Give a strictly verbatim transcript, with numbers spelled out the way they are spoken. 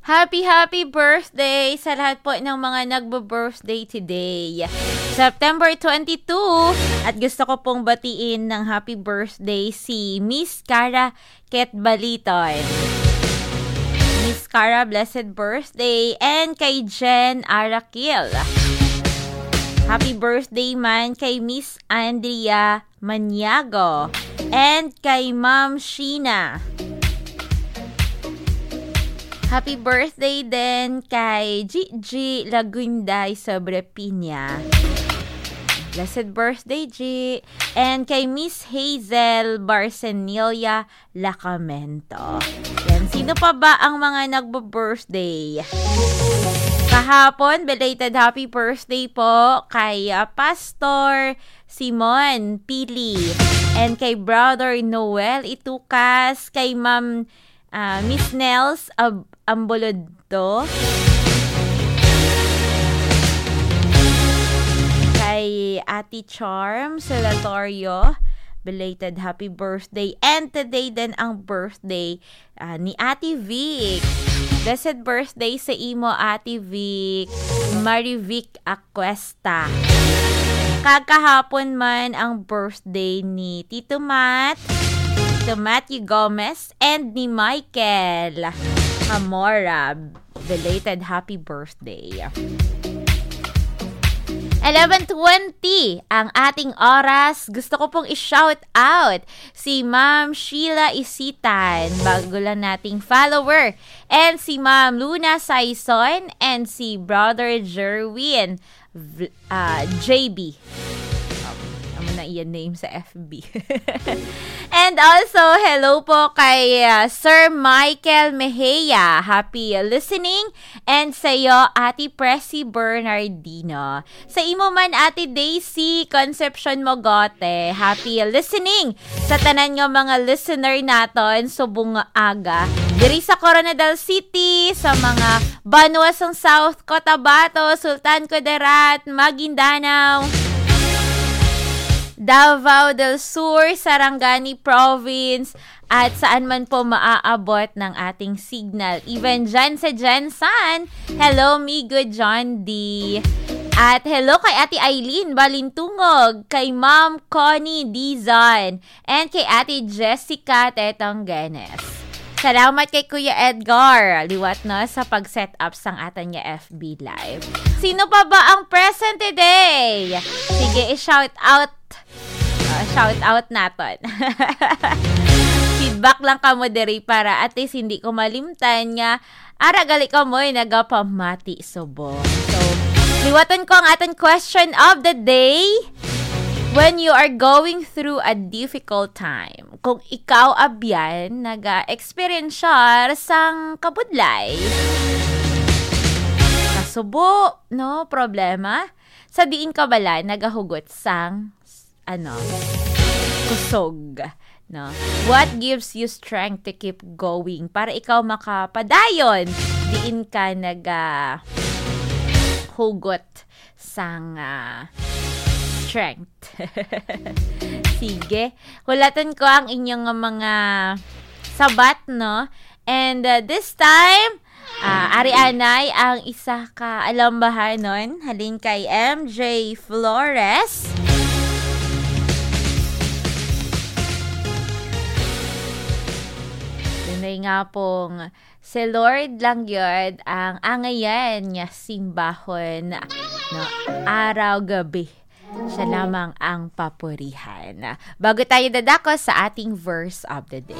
Happy, happy birthday sa lahat po ng mga nagbo-birthday today, September twenty-two. At gusto ko pong batiin ng happy birthday si Miss Cara Ketbaliton. Miss Cara, blessed birthday. And kay Jen Arakil. Happy birthday man kay Miss Andrea Maniago. And kay Ma'am Sheena. Happy birthday din kay Gigi Lagunday Sobrepiña. Blessed birthday, G. And kay Miss Hazel Barcenilia Lacamento. Yan. Sino pa ba ang mga nagbo-birthday? Kahapon, belated happy birthday po kay, ah, Pastor Simon Pili and kay Brother Noel Itukas, kay Ma'am, ah, Miss Nels Ab-, Ambolodto, kay Ate Charm Salatorio, belated happy birthday. And today din ang birthday, ah, ni Ate Vic. Blessed birthday sa imo, Ate Vic. Marivic Acuesta. Kagkahapon man ang birthday ni Tito Matt, Tito Matthew Gomez, and ni Michael Hamora. Belated happy birthday. Eleven twenty ang ating oras. Gusto ko pong i-shout out si Ma'am Sheila Isitan, bago lang nating follower, and si Ma'am Luna Saison, and si Brother Jerwin V-, ah, J B. Um, amo na iya name sa F B. And also, hello po kay, ah, Sir Michael Mejia. Happy listening. And sa'yo, Ate Presi Bernardino. Sa imo man, Ate Daisy Concepcion Mogote, happy listening sa tanan nga mga listener naton subong nga aga. Diri sa Coronadal City, sa mga banwa sang South Cotabato, Sultan Kudarat, Maguindanao, Davao del Sur, Sarangani Province, at saan man po maaabot ng ating signal. Even dyan sa Gensan, hello, Migo John D. At hello kay Ate Eileen Balintungog, kay Ma'am Connie Dizon, and kay Ate Jessica Tetong Genes. Salamat kay Kuya Edgar, liwat na sa pag-set up sang atan nga F B Live. Sino pa ba ang present today? Sige, i-shout out. Ah, shout out naton. Feedback lang kamo diri para at least hindi ko malimtan nga ara gali kamoy nagapamati subong. So, liwaton ko ang aton question of the day. When you are going through a difficult time, kung ikaw abyan naga-experience sang kabudlay, kasubo, no, problema, sa diin ka bala nagahugot sang, ano, kusog, no? What gives you strength to keep going? Para ikaw makapadayon diin ka naga hugot sang, ah, strength. Sige. Hulaton ko ang inyong mga sabat, no? And, uh, this time, ah, ari anay ang isa ka alambahanon halin kay M J Flores. Dunay nga pong si Lord lang gyud ang angayan nga simbahon, no, araw gabi. Siya lamang ang papurihan. Bago tayo dadako sa ating verse of the day.